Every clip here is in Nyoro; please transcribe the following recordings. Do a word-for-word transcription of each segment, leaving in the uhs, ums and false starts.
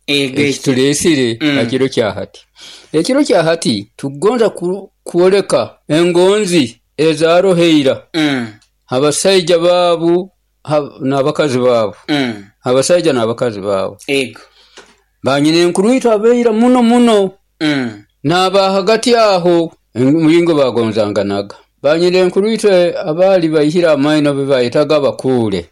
Ego eki. Ekituleesire Mm. ha kiro kya hati. Ekiro kya hati tukugonza ku- kwoleka engonzi ezaroho ira Mm. abasaija baabu ha- n'abakazi baabu, Mm. abasaija n'abakazi baabu, Ego. banyina itwe abaira muno muno Mm. n'aba hagati aho omulingo bagonzanganaga. Banyina itwe abaali baihire amaino be bayetaga abakuule,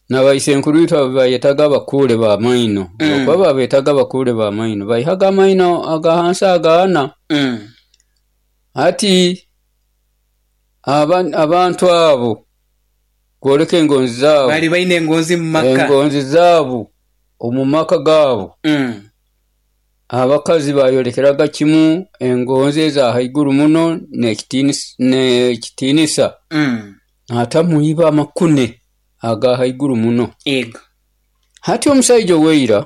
n'abaisenkuru itwe abe bayetaga abakuule b'amaino, Mm. okuba babeetaga abakuule b'amaino, baihaga amaino aga hansi agaana. Mm. Hati aba- abantu abo kwoleka engonzi zaabo, Bali baine engonzi mu maka. Engonzi zaabo omu maka gaabo, Mm. abakazi bayolekeraga kimu engonzi eza haiguru muno n'ekitiinisa n'ekitiinisa Mm. atamuiba amakune aga haiguru muno. Ego. Hati omusaija oweira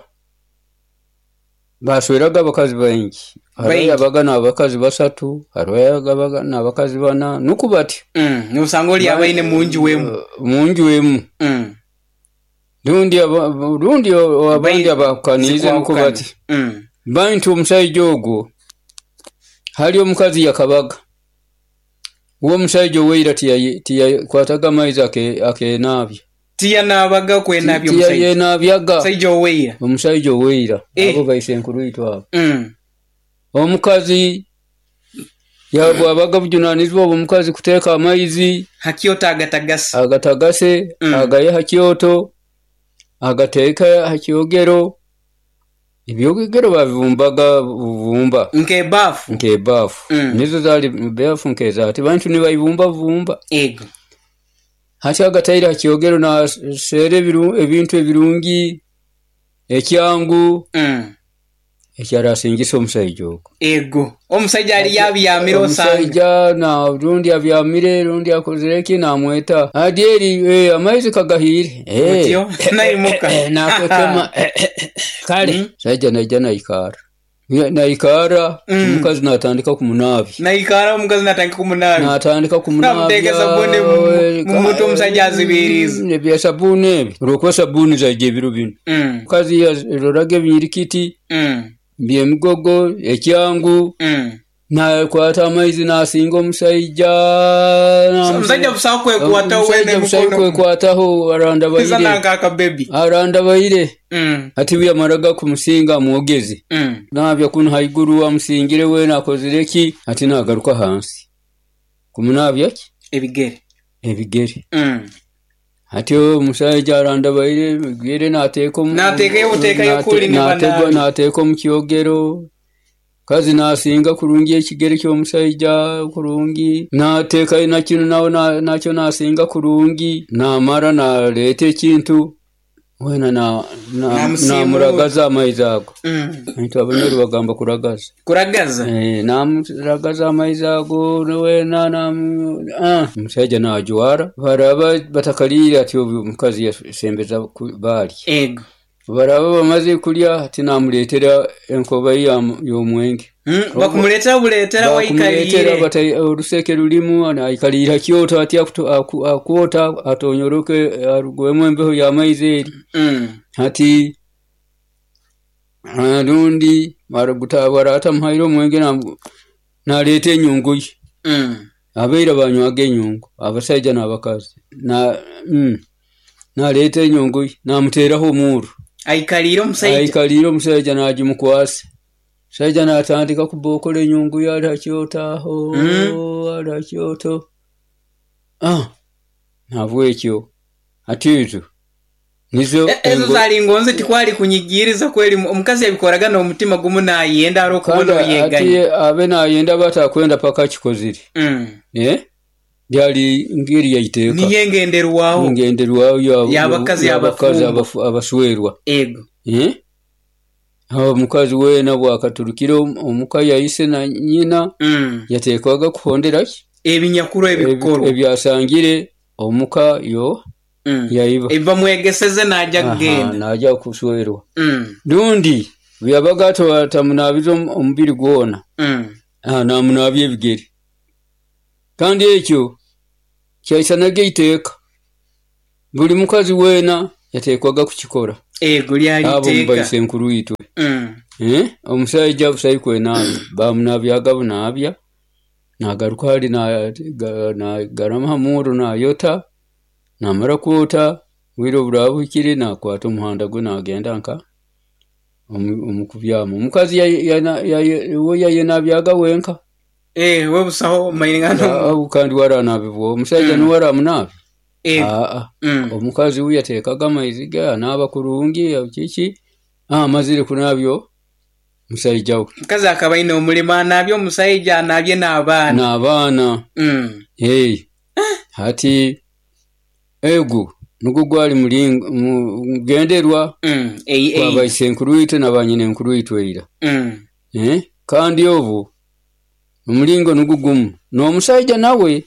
basweraga abakazi baingi, hariho Baingi. yabaga n'abakazi basatu, hariho yabaga n'abakazi bana, nuku bati. Mm. Nosanga oli abaine munju wemu. Munju emu. Mm. Rundi aba- rundi abandi Bai- abahukaniize nuko Zikwahukana. bati. Mm. Bantu omusaija ogwo hali omukazi yakabaga uwo omusaija oweira tiyaye- tiyakwataga amaizi ake- akenaabya. Tiyanaabaga kwenabya omusajja. Tiyayenaabyaga. Omusajja oweira. Omusaija oweira, Eh. abo baisenkuru itwe abo. Mm. Omukazi yabwabaga bujunanizibwa obw'omukazi kuteeka amaizi Hakyoto agatagase. Agatagase, Mm. agaye ha kyoto, agateeka ha kyogero. Ebyogero babibumbaga bubumba. Nk'ebaafu. Nk'ebaafu. Mm. Nizo zaali baafu nk'ezaati, bantu nibayibumba bubumba. Ego. Hati agataire ha kyogero naseera ebiru- ebintu ebirungi, ekyangu, Mm. ekyarasingisa omusaija ogwo. Ego. Omusajja ali yabyamire osanga. Omusaija na rundi abyamire, rundi akozire ki, namweta adyeri, eh, amaizi kagahiire. Eh, Otyo naimuka. eh, nakwekema. Eh, eh, eh, kale Mm. saija naija naikara naikara Mm. omukazi natandika kumunaabya. Naikara omukazi natandika kumunaabi. Natandika Namuteeka sabuni mu- mu mutwe omusajja azibiriize. Mm, ebya sabuuni ebi, olwokuba sabuuni zaija ebiro bino. Mm. Omukazi yaroraga ebinyirikiti Mm. byemigogo, ekyangu, Mm. nakwata amaizi nasinga omusaija. Omusajja busaho kwekwataho Omusajja wene busaho mukono. kwekwataho, arandabaire. Izana nk'akabebi. Arandabaire. Mm. Ati buyamaraga kumusinga amwogeze, Mm. nabya kunu haiguru amusingire wena akozire ki, ati nagaruka hansi kumunabya ki? Ebigere. Ebigere. Mm. Ati omusajja arandabaire ebigere nateeka omu- Nateekayo buteekayo nate- kuli ni nategwa- banaabi. Nateeka omu kyogero, kazi nasinga kurungi ekigere ky'omusajja kurungi, nateekayo nakino nawe na- nakyo nasinga kurungi, namara naleeta ekintu wena na- na- Namusiimuura. namuragaza amaizi ago. Mm. Itwe Abanyoro bagamba kuragaza. Kuragaza. Eh, namuragaza amaizi ago wena namu- ah, omusajja najwara, baraba batakaliire, ati obu omukazi yasembeza ku- baalya. Ego. Baraba bamaze kulya, ati namuleetera enkoba ye ya- y'omwenge. Mm. Bakumuleetera buleetera Bakumuleetera waikaliire. bata- oluseke lulimu, aikaliira kyoto ati akuto- aku- akwota atonyoroke arugwemu embeho y'amaizi eri. Mm. Hati ah, rundi baratamuhaire omwenge, namu- naleeta enyungu ye. Mm. Abaira banywaga enyungu, abasaija n'abakazi. Na mm, naleeta enyungu ye namuteeraho omuuru. Aikaliire omusajja. Aikaliire omusajja nagimukwasa, omusajja natandika kubokola enyungu ye ali hakyoto aho. Mm. Ali hakyoto. Ah, nabwekyo ati ezo nizo E- ezo engo- zali ngonzi, tikwali kunyigiriza kweli, omukazi yabikoraga n'omutima gumu nayenda ari okubona Kandi ati oyeganya. abe nayenda batakwenda paka akikozire. Mm. Eh? Byali ngeri yaiteeka. Niyo engenderwaho. Ngenderwaho ya- Y'abakazi y'abakazi abafumbo. abafu- abaswerwa. Ego. Eh? Aho omukazi weena bwakaturukire omu- omuka yaise na nyina, Mm. yateekwaga kuhondera ki? Ebinyakuru Ebi- ebikorwa. Ebyasangire omuka yo Mm. yaiba. Ebibamwegeseze najja Aha, kugenda. naja kuswerwa. Mm. Rundi bweyabaga atamunaabiza omu- omubiri gwona, Mm. ah, namunaabya ebigere, kandi ekyo kyaisanaga eiteeka, buli mukazi weena yateekwaga kukikora. Ego lyali Abo iteeka. Mubaise nkuru itwe. Mm. Eh, omusaija busaikwe naabya bamunabyaga bunaabya nagaruka hali nagarama ha murro nayota, namara kwota obwire obu buraaba buhikire nakwata omuhanda gwe nagenda nka omu kubyaama, omukazi we yayenabyaga wenka. Eh, we busaho kandi we aranabibwa omusaija Mm. nuwe aramunaabya? Ego. Aa, Mm. omukazi we yateekaga amaizi ge anaaba kurungi kiki, amazire kunaabya omusaija we. Omukazi akaba ayine omulimu anaabye omusaija anaabye n'abaana. N'abaana. Mm. Hey. Hati ego nugwo gwali mulingo mugenderwa Mm. Ei, ei. gwabaisenkuru itwe nabanyinenkuru itwe ira. Mm. Eh? Kandi obu omulingo nugwo gumu n'omusaija nawe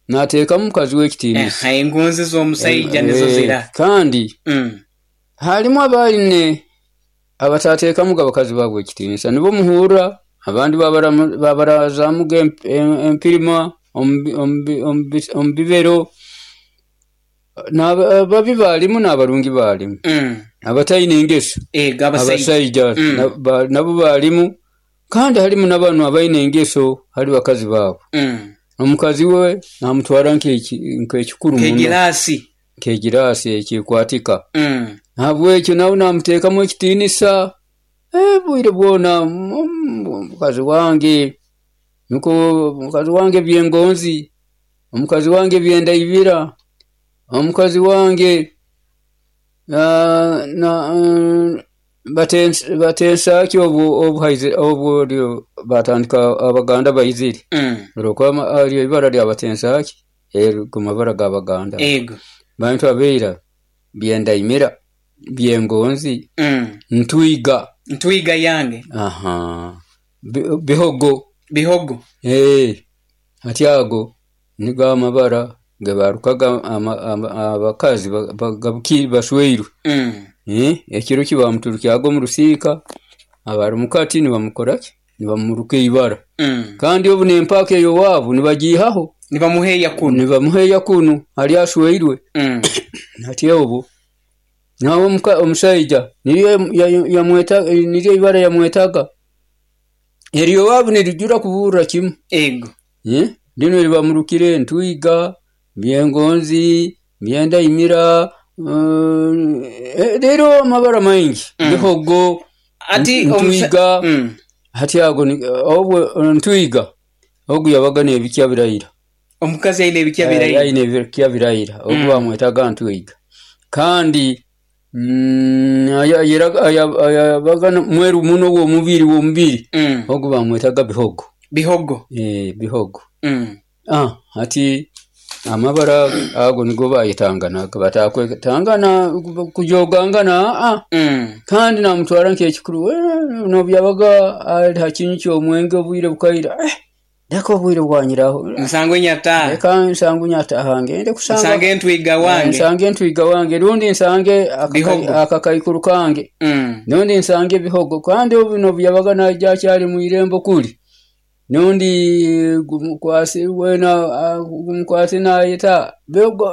nateekamu mukazi we ekitiinisa. Eh, engonzi z'omusaija nizo Eh, zira. Kandi Mm. harimu abaine abatateekamuga abakazi baabwe ekitiinisa, nibo muhurra abandi babarazamuga empirima omu bibero, ababi baalimu n'abarungi baalimu. Mm. Abataine engeso Ego abasaija. abasaija Mm. nabo baalimu, kandi harimu n'abanu abaine engeso hali bakazi baabo. Mm. Omukazi we namutwara nk'ekikuru muno. Nk'egiraasi. Nk'egiraasi ekikwatika. Mm. Nahabwekyo nawe namuteekamu ekitiinisa, obwire bwona omukazi wange, nukwo omukazi wange byengonzi, omukazi wange byendaibira, omukazi wange batensaaki obu batandika Abaganda baizire. Mm. Olwokuba eryo ibara lya batensaaki ago mabara g'Abaganda. Ego. Bantu abaira byendaimira, byengonzi, Mm. ntwiga. Ntwiga yange. Aha. Bihogo. Bihogo. Eh. Hati ago nigo amabara gebarukaga abakazi bashweirwe. Mm. Eh, ekiro kibamuturukyaga omu rusiika abari mukati nibamukoraki? Nibamuruka ibara. Mm. Kandi obu n'empaka ey'owaabo nibagiihaho. Nibamuheeya kunu. Nibamuheeya kunu hali ashweirwe. Mm. Hati obu nawe omusaija niryo yamweta niryo ibara yamwetaga. Eryo owaabu nirijura kuburra kimu. Ego. Eh? Linu eribamurukire ntwiga, byengonzi, byendaimira, uh, rero amabara maingi. Mm. Bihogo, Ati ntwiga. Mm. Hati ago obwo ntwiga ogu yabaga n'ebikya birayira. Omukazi aine ebikya birayira. Aine ebikya birayira. Ogu Mm. bamwetaga ntwiga. Kandi mm, yabaga mweru muno w'omubiri w'omubiri. Mm. Ogu bamwetaga bihogo. Bihogo. Eh, bihogo. Mm. Ah, hati amabara ago nigo bayetanganaga batakwetangana kujogangana ah. Mm. Kandi namutwara nk'ekikuru nobyabaga ali ha kinyu ky'omwenge obwire bukaira, eh, leka obwire bwanyiraho. Nsange nyataha. Leka nsange nyataha ngende kusanga. Nsange ntwiga wange. Nsange ntwiga wange rundi nsange akakaikuru kange. Mm. Nundi nsange bihogo kandi obu nobyabaga naija akyali mu irembo kuli. Nundi gumukwasi wena gumukwasi nayeta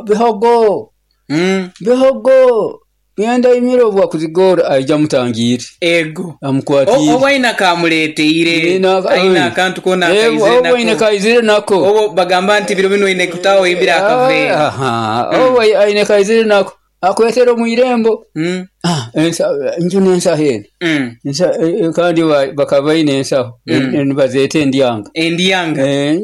bihogo. Mm. Bihogo byenda imiro bwa kuzigora aija mutangire. Ego. Amukwatire. Oba aina kamuleteire. Aina akantu kona kaizire nako. Oba aina kaizire nako. Obo bagamba nti biro bino aine kutaho ibira akavera. Aha. Oba aine kaizire nako. Akwetera mu irembo. Mm. Ah, ensa nju nensaho eno. Mm. Ensa kandi bakaba baine ensaho. Mm. Nibazeeta endyanga. Endyanga. Eh,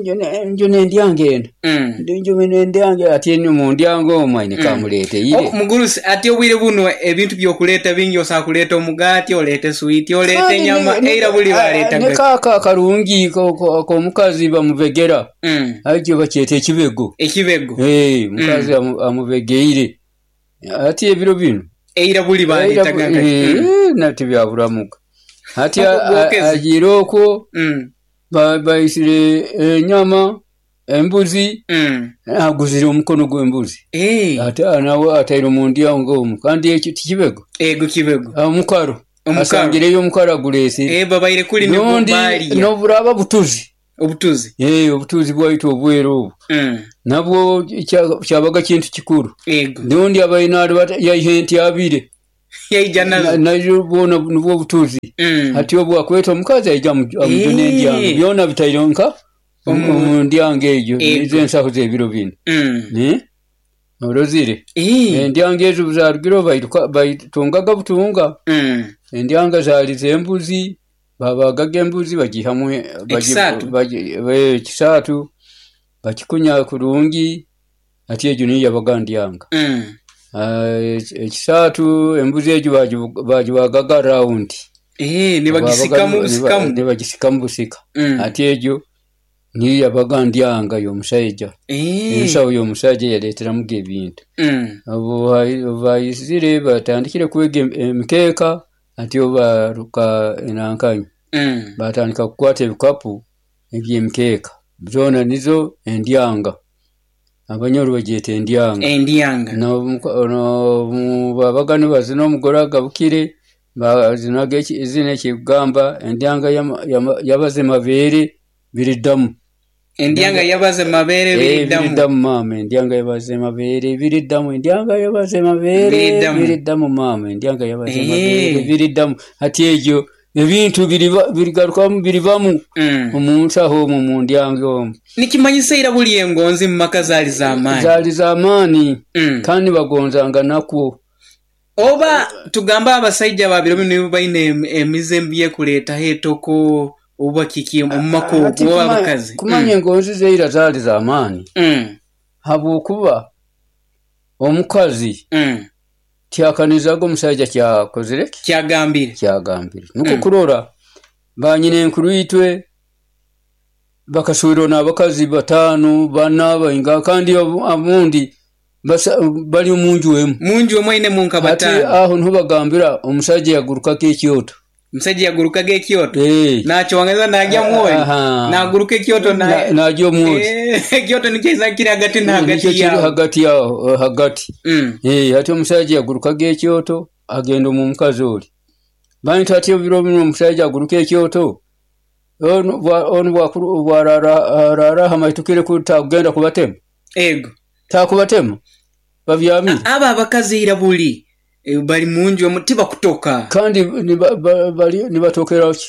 nju nendyanga eno. Mm. Nju nendyanga ati eno mu ndyanga omwo aine kamuleteire. Oh, mugurusi ati obwire buno ebintu by'okuleeta bingi osobola kuleeta omugaati, oleete swiiti, oleete enyama, eira buli baleetaga. Ne kaaka karungi k'omukazi bamubegera. Mm. Ekyo bakyeta ekibego. Ekibego. Eh, mukazi mm. amubegeire. Ati ebiro bino eira buli baleetaga. Eh, nati byaburamuka. Hati agiire okwo mm. baisire enyama embuzi, mm. aguzire omukono gw'embuzi. Eh. Ate nawe ataire omu ndyango omwo kandi ekyo tikibego. Ego kibego. Omukaro. Asangireyo omukaro aguleesire. Eh, babaire kuli nibwo baalya. Noburaba butuzi. Obutuzi. Eh, obutuzi bwaitu obweru obu. Mm. Nabwo kyabaga kintu kikuru. Ego. Nundi abaine yaihe enti abire. Yaija nazo. Nazo bwona nubwo obutuzi. Mm. Hati obu akweta omukazi aija amu- amujuna Eh. endyanga byona bitaire nka Omu- omu ndyanga egyo. Ego. Nizo ensaho z'ebiro binu. Mm. Eh? Orozire Eh. endyanga ezo buzarugire bairuka baitungaga butunga. Mm. Endyanga zaali z'embuzi, babagaga embuzi bagihamu bagi- Ekisaatu? bagi- eh, ekisaatu bakikunya kurungi, ati egyo niyo yabaga ndyanga. Mm. Ah, eki- ekisaatu embuzi egyo bagi- bagibagaga rawundi. Eh, nibagisikamu Babaga- busikamu. Nibagisikamu busika. Mm. Ati egyo niyo yabaga ndyanga y'omusaija. Eh. Ensaho y'omusaija yaleeteramuga ebintu. Mm. Obu hai- obu baizire batandikire kwega em- emikeeka, ati obu baruka enankanyi Mm. batandika kukwata ebikapu eby'emikeeka zoona nizo endyanga, Abanyoro bagyeta endyanga. Endyanga. N'obu babaga nibazina omugore agabukire bazinaga eki- ezina ekikugamba endyanga yama- yama- yabaze mabeere biriddamu. Endyanga yabaze mabeere Eh, biriddamu. biriddamu maama, endyanga yabaze mabeere biriddamu, endyanga yabaze mabeere Biriddamu. biriddamu maama, endyanga yabaze Eh. mabeere biriddamu. Hati egyo ebintu biriba- birigarukamu biribamu Mm. omu nsaho omwo mu ndyanga omwo. Nikimanyisa ira buli engonzi mu maka zaali z'amaanyi. Zaali z'amaani. Mm. Kandi bagonzanga nakwo. Oba tugambe abasaija babiro binu nibo baine em- emize embi ekuleetaho etoko oba kiki omu maka Ati oba kuma- abakazi. kumanya engonzi zeira zaali z'amaani Mm. habwokuba omukazi Mm. tyakanizaga omusaija kyakozire ki? Kyagambire. Kyagambire nukwo Mm. kurora banyina enkuru itwe bakaswirwa n'abakazi bataano bana bainga, kandi abu- abundi basa- bali omunju emu. Munju omwe ainemu nka Hati bataano. aho niho bagambira omusaija yagurukako ekyoto. Omusajja yagurukaga ekyoto. Eh. Nakyongeza najya mwoli. Aha. Naguruka ekyoto na Na- najya omwoli. Eh, ekyoto nikyo kiza kiri hagati na Nikyo hagati kiri yaabo. hagati yaho hagati. Mm. Eh, hati omusaija yagurukaga ekyoto agenda omu mukazi oli. Bantu ati ebiro binu omusaija aguruka ekyoto onu bwa- onu bwakuru- bwarara arara hamaitukire ku takugenda kubatema. Ego. Takubatema babyamire. Aba abakazi ira buli eh, bali munju omu tibakutoka. Kandi niba- ba- bali nibatokera ki?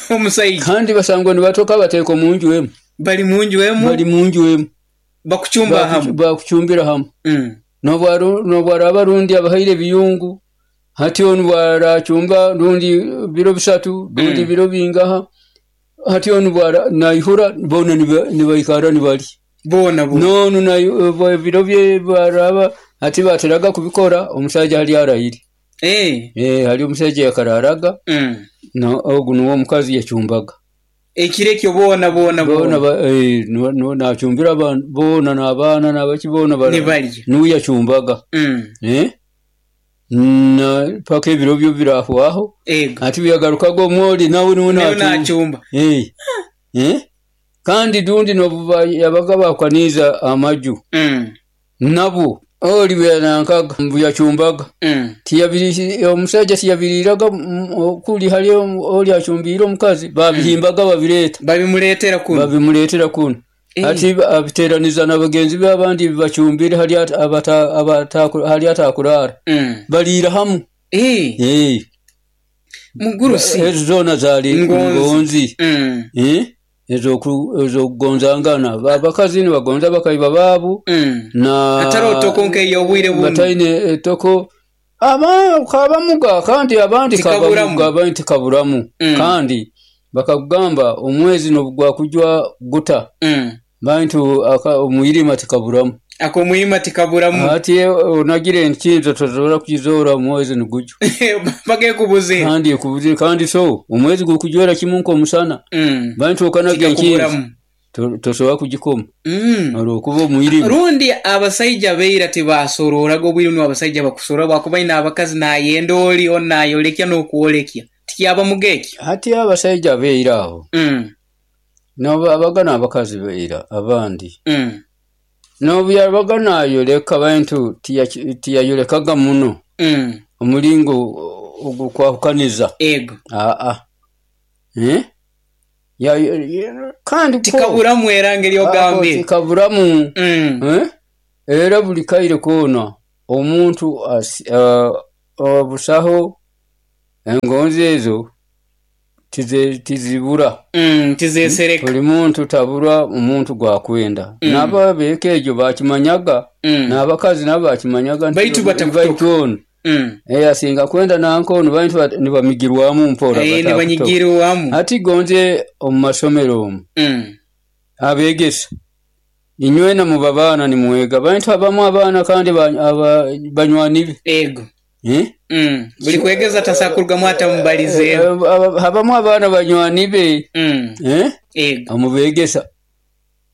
Omusaija Kandi basangwa nibatoka bateeka omunju emu. bali munju emu Bali munju emu. bakucumba Baku- hamu. Bakucumbira hamu. Mm. Nobwaru- nobwaraba rundi abahaire ebiyungu, hati onu bwaracumba rundi biro bisatu rundi Mm. biro bingaha, hati onu bwara naihura bona niba- nibaikara nibali Boona bo. nonu nayo- bwa- ebiro bye bwaraba hati bateraga kubikora omusaija hali arahire. Eh. Eh, hali omusaija yakararaga Mm. no ogu nuwe omukazi yacumbaga. Ekiro ekyo boona boona Boona boona. ba- eh, nuwe- nuwe nacumbira abantu boona n'abaana n'abaki boona bara- Nibalya. nuwe yacumbaga. Mm. Eh? Na paka ebiro byo birahwaho. Ego. Ati byagarukaga omwoli nawe niwe Nawe nacumba. nacumba. Eh. Eh? Kandi dundi nobuba yabaga bakaniza amaju. Mm. Nabo oli byanankaga mbuyacumbaga. Mm. Tiyabiri omusajja tiyabiriraga mm, okuli hali oli acumbiire omukazi babihimbaga babireeta. Babimuleetera kuno. Babimuleetera kuno. Eh. Ati abiteeraniza na bagenzi be abandi bacumbire hali ata- abata- abata- hali atakuraara. Mm. Baliira hamu. Eh. Eh. Mugurusi. Ezo zoona zaali Ngonzi. ngonzi. Mm. Eh? Ezoku- Ezokugonzangana. Abakazi nibagonza bakaiba baabo Mm. na Atari otoko nk'ey'obwire buno. bataine etoko aba kabamuga kandi abandi Tikaburamu. kabamuga abandi tikaburamu. Mm. Kandi bakakugamba omwezi nobugwakujwa guta Mm. bantu aka- omwirima tikaburamu. Akomwirima tikaburamu. Ati onagire enkinzo tosobola kugizoora omwezi nigujwa. Bagekubuzira. Kandi ekubuzire kandi so omwezi gukujwera kimu nk'omusana. Mm. Bantu okanaga enkinzo Tikakuburamu. to- tosobola kugikoma Mm. olwokuba omwirima. Rundi abasaija beira tibasororaga obwire buno abasaija bakusorora bwakuba ine abakazi nayenda oli oni nayolekya n'okwolekya tikyaba ekyo. Hati abasaija beira aho Mm. nobu abaga n'abakazi beira abandi Mm. nobu yabaga nayoleka bantu tiya- tiyayolekaga muno Mm. omulingo ogukwahukaniza. Ego. Aa Eh? Ya- ya- kandi ko- Tikaburamu era ngeri Ako ogambire. tikaburamu. Mm. Eh? Era buli kaire koona Omuntu obusaho engonzi ezo tizibura. Mm, tizesereka. Buli muntu tabura omuntu gwakwenda. Mm. N'ababeeka egyo bakimanyaga. Mm. N'abakazi nabo bakimanyaga baitu batakutoka. Mm. Eh, asinga kwenda nanko baitu nibamigirwamu mpora. Eh, nibanyigirwamu. Ati gonze omu masomero omu. Mm. Abegesa inywena mu babaana nimwega baitu abamu abaana kandi banywani be. Ego. Eh? Mm. Buli kwegeza tasakurgamu atamubalize. Habamu abaana banywani be. Mm. Eh? Ego. Amubegesa.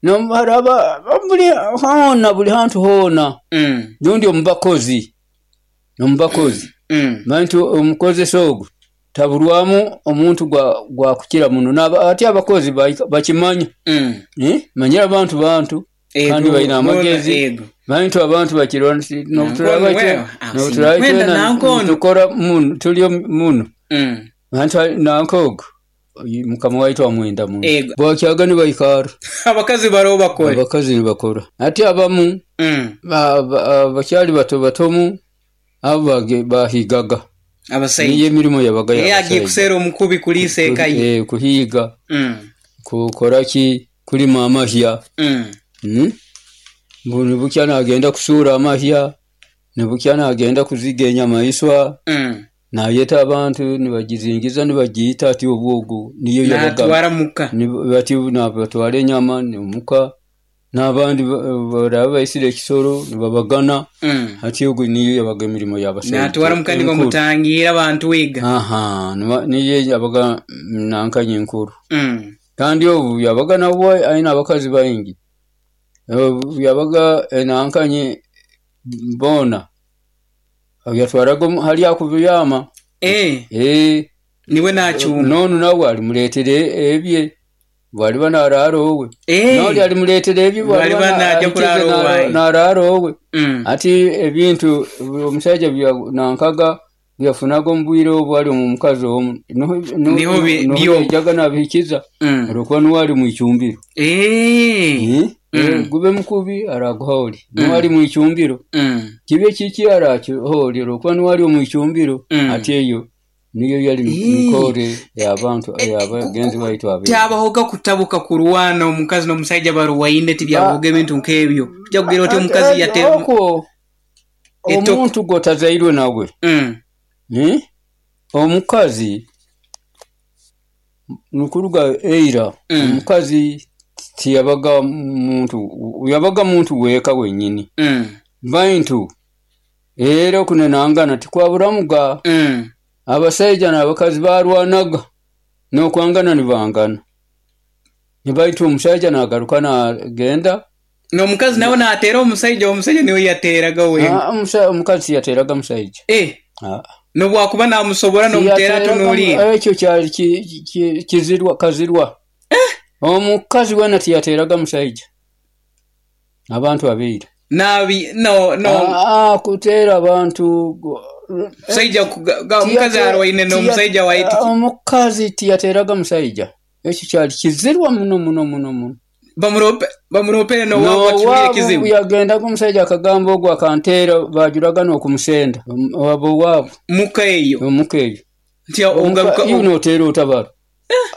No haraba buli hona buli hantu hona. Mm. Nundi omubakozi. Omubakozi. Mm. Bantu omukozesa ogu taburwamu omuntu gwa gwa kukira muno naba ati abakozi bakimanya. Mm. Eh? Manyira abantu bantu kandi balina amagezi. Bantu abantu bakirwa no turaba no turaba tukora muno tuli muno. Mm. Bantu nankogo mukama waitu amwenda muno. Bwakyaga ni baikara. Abakazi baro bakora. Abakazi bakora. Ati abamu mm. bakyali bato batomu abo bahigaga. Abasajja. Niyo emirimo yabaga y'abasajja. Yagiye kusera omukubi kulisa eka ye. Eh, kuhiga. Mm. Kukora ki kulima amahya. Mm. Mm. Mbuni bukya nagenda kusura amahya, ne bukya nagenda kuziga enyamaiswa. Mm. Nayeta abantu nibagizingiza nibagiyita ati obwogo niyo yabaga. Natwara muka. Ni bati nabatwara enyama ni muka. N'abandi baraba baisire ekisoro nibabagana. Mm. Ati ogo niyo yabaga emirimo y'abasajja. Natwara muka nibamutangira abantu wiga. Aha, niyo yabaga nankanye enkuru. Mm. Kandi obu yabaga nabwo aina abakazi baingi. Yabaga nankanye bona. Yatwaraga hali akubiyama. Eh. Eh. Niwe nachuma. Nonu nawe alimuletere ebye. Bali banararo we. Eh. Noli alimuletere ebye bali banaje kuraro wayi. Nararo we. Mm. Ati ebintu omusajja bya nankaga byafunaga omubwire obwali omukazi omu. Niho byo jaga nabikiza. Mm. Olwokuba niwe ali mu icumbiro. Eh. Mm. Mm. Gube mukubi araguholi. Niwe ali mu icumbiro. Mm. Kibe kiki arakiholi olwokuba niwe ali mu icumbiro. Mm. Ati eyo niyo yali mikore y'abantu y'abagenzi baitu abe. Tyabahoga kutabuka kurwana omukazi n'omusajja baruwaine tibyaboga ebintu nk'ebyo. Tujja kugira oti omukazi yatera okwo. Omuntu gwotazairwe nawe. Mm. Eh? Omukazi nukuruga eira. Mm. Omukazi tiyabaga muntu yabaga muntu weka wenyini. Mm. Bantu era kunenangana tikwaburamuga. Mm. Abasajja n'abakazi barwanaga n'okwangana nibangana. Nibaitu omusajja nagaruka nagenda. N'omukazi nawe natera omusajja, omusajja niwe yateraga we. Ah, omukazi yateraga musajja. Eh. Ah. Nobwakuba namusobora n'omutera tunulira. Ekyo kyali kizirwa kazirwa. Eh. Omukazi wena tiyateraga musajja. Abantu abeira. Nabi no no. Ah, ah kutera abantu musajja omukazi arwaine n'omusajja waiti. Omukazi tiyateraga musajja. Ekyo kyali kizirwa muno muno muno muno. Bamurope bamuropere no wabo kiwire kizibu. Yagenda ku musajja akagamba ogwo akantera bajuraga n'okumusenda. Wabo wabo. Muka eyo. Muka eyo. Nti ogaruka unotera otabara.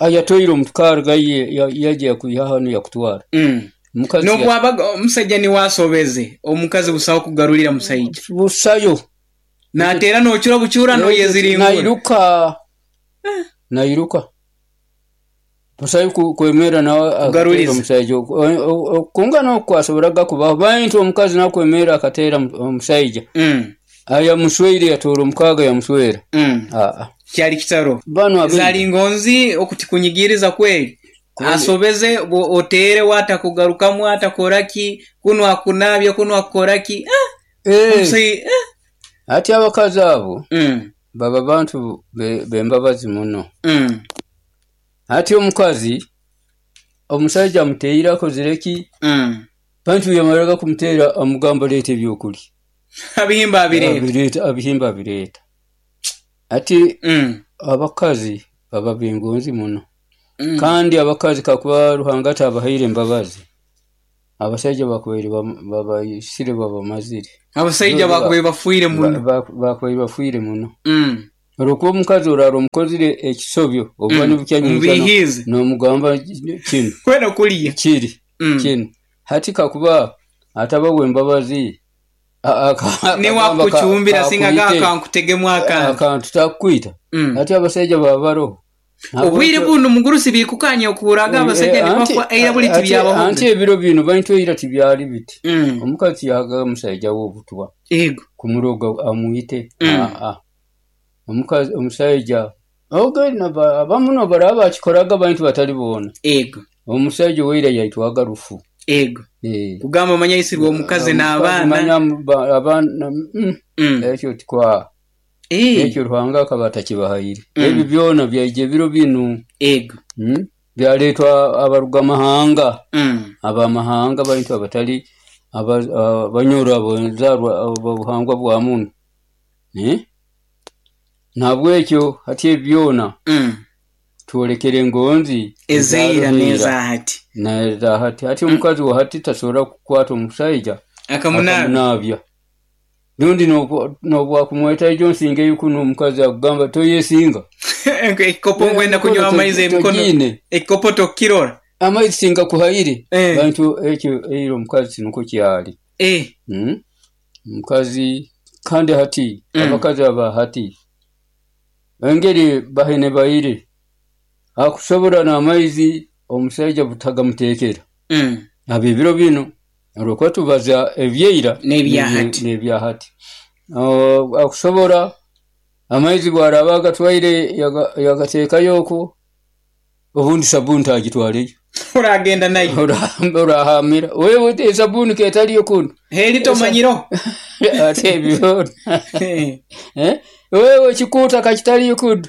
Ayatoyire omutukari gaye yaje kuyiha hano yakutwara. Mm. Mukazi nobwabaga omusajja ni wasobeze omukazi busawo kugarulira musajja. Busayo. Natera nochura buchura no yeziringura. Nairuka. Eh. Nairuka. Busayo kwemera na kugaruliza omusajja. Kungana kwasoboraga kuba bantu omukazi nakwemera akatera omusajja. Mm. Aya muswere yatora omukaga yamuswera. Mm. Ah. Kyali kitaro. Bano zali ngonzi okutikunyigiriza kweli. Asobeze otere watakugarukamu atakoraki kuno akunabya kuno akoraki. Ah. Eh. Omusai, eh. Ati abakazi abo mm. baba bantu bembabazi muno. Mm. Ati omukazi omusajja amuteera akozireki. Mm. Bantu yamaraga kumutera amugamba leeta ebyokulya. Abihimba abireeta. Abireeta abihimba abireeta. Ati mm. abakazi baba bengonzi muno. Mm. Kandi abakazi kakuba Ruhanga tabahaire embabazi. Abasaija bakubaire babaisire, babamazire. Abasaija bakubaire bafiire muno. Bakubaire bafiire muno. Olwokuba omukazi oraara omukozire ekisobyo oba nibukya Omubiihiize. Nomugamba kinu Kwena kulya. Kiri kinu hati kakuba ataba w'embabazi, Niwe akucumbira singa kankutegemu akantu. Akantu takukwita. Hati abasaija baba baroho. Obwire bunu mugurusi bikukanya okuhurraga abasaija nibafa, eira buli tibyabahoga. Anti ebiro binu, baitu eira tibyali biti. Omukazi tiyahaga omusaija we obutwa Ego. Kumuroga amwite. Aa, omukazi omusaija abamu nobaraba bakikoraga, baitu batali boona. Ego. Omusaija owaira yaitwaga rufu. Ego. Kugamba manya aisirwe omukazi n'abaana. Abaana, ekyo tikwa, ekyo Ruhanga akaba atakibahaire. Ebi byona byaija ebiro binu. Ego. Byaletwa abaruga mahanga, abamahanga, baitu abatali abanyoro, abenzarwa abobuhangwa bwa munu. Nahabwekyo hati ebi byona twolekere engonzi Ezaira n'ezahati. Nezahati. Hati omukazi wa hati tasobora kukwata omusaija Akamunaabya. Rundi nobwakumweta ijo nsingeyo kunu, omukazi akugamba toyesinga. Ekikopo nkwenda kunywa amaizi emikono. Ekikopo tokukirora. Amaizi singakuhaire. Baitu ekyo eira omukazi tinukwo kyali. Omukazi kandi hati abakazi aba hati engeri bahenebaire, akusobora n'amaizi omusaija butagamuteekera. Ab'ebiro binu, olwokuba tubaza ebyeira n'ebyahati, akusobora amaizi bwaraba agatwaire yagateekayo oku, obundi sabuuni tagitwaleyo. Oragenda nayo. Orahamira wewe, esabuni ketaliyo kunu. Heri tomanyireho. Ate ebyo wewe ekikuuta kakitaliyo kunu,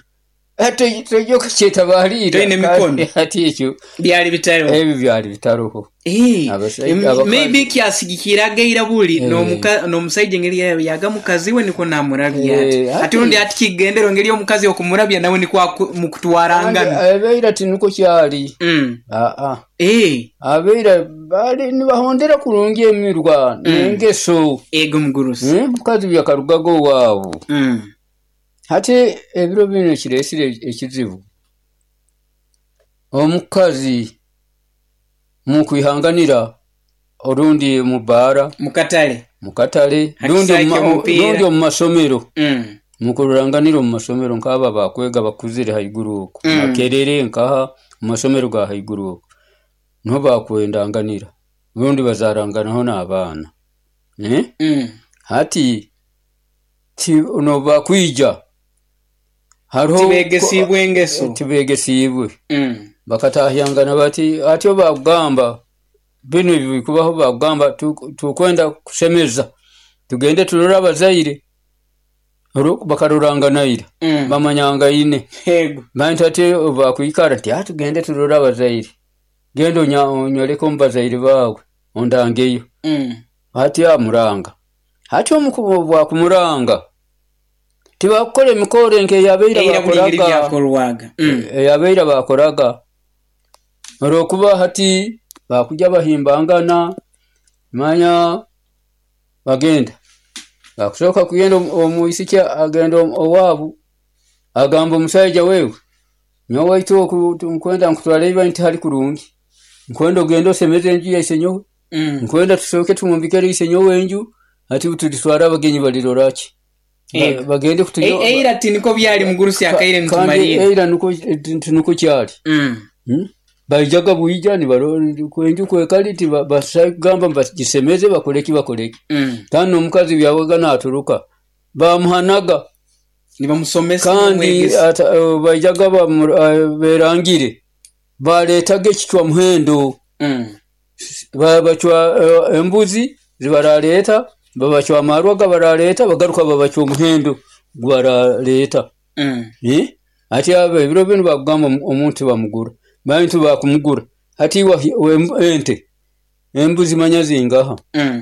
tojja kukyetabaaliira. Toine emikono. Hati ekyo Byali bitariho. Ebi byali bitaroho. Maybe kyasigikiraga eira buli n'omusaija engeri yarabyaga mukazi we nikwo namurabya ati. Hati rundi hati kigendero engeri omukazi okumurabya nawe nikwo mukutwarangana. Abeira tinukwo kyali. Aa, abeira baali nibahondera kurungi emirwa n'engeso. Ego mugurusi. Mukazi byakarugaga owaabu. Hati ebiro binu ekireesire ekizibu, omukazi mukwihanganira orundi mu baara, Mukatale. Mukatale, rundi omu masomero, mukururanganira omu masomero nk'abo abakwega bakuzire haiguru oku, Makerere nkaha, omu masomero ga haiguru oku niho bakwendanganira, rundi bazaaranganaho n'abaana. Hati nobakwija hariho Tibegesiibwe engeso. Tibegesiibwe. Bakatahyangana bati hati bakugamba binu ebi bikubaho, bakugamba tukwenda kusemeza, tugende turore abazaire, bakaroranganaira bamanyangaine. Baitu hati bakwikara nti tugende turore abazaire, genda onyoleke omu bazaire baawe ondangeyo. Hati amuranga, hati bwakumuranga tibakukora emikoro nk'eyabaire bakoraga, eyabaire bakoraga, olwokuba hati bakujja bahimbangana manya bagenda bakusooka kugenda, omwisiki agenda owaabu agamba omusaija, wewe nyowe waitu oku nkwenda nkutwale iba ntihali kurungi, nkwenda ogende osemeze enju ya isenyowe, nkwenda tusooke tumwombekere isenyowe enju, hati tulitwara abagenyi baliroraki bagende. Eira tiniko byali mugurusi, akaire nitumalire. Eira nukwo kyali, baijaga bwija enju kwekali, tibagamba bagisemeze, bakoleki bakoleki. Kandi n'omukazi byabaga naturuka bamuhanaga. Nibamusomesa. Kandi baijaga berangire, baleetaga ekicwa muhendo, babacwa embuzi zibaraleeta, babacwa amarwa gabaraleeta, bagaruka babacwa omuhendo gubaraleeta. Hati abo ebiro binu bakugamba omuntu bamugura, baitu bakumugura hati ente, embuzi manya zingaha,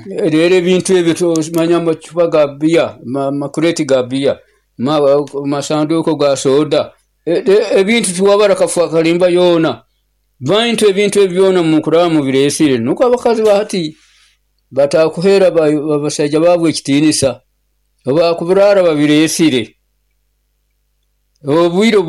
rero ebintu ebyo manya amacupa ga biya, amakureti ga biya, masanduuko ga soda, ebintu tiwabara kafa kalimba yoona. Baitu ebintu ebi byona mukuraba mubireesire, nukwo abakazi ba hati batakuheera abasaija baabo ekitiinisa, obu bakubiraara babireesire, obwire obu.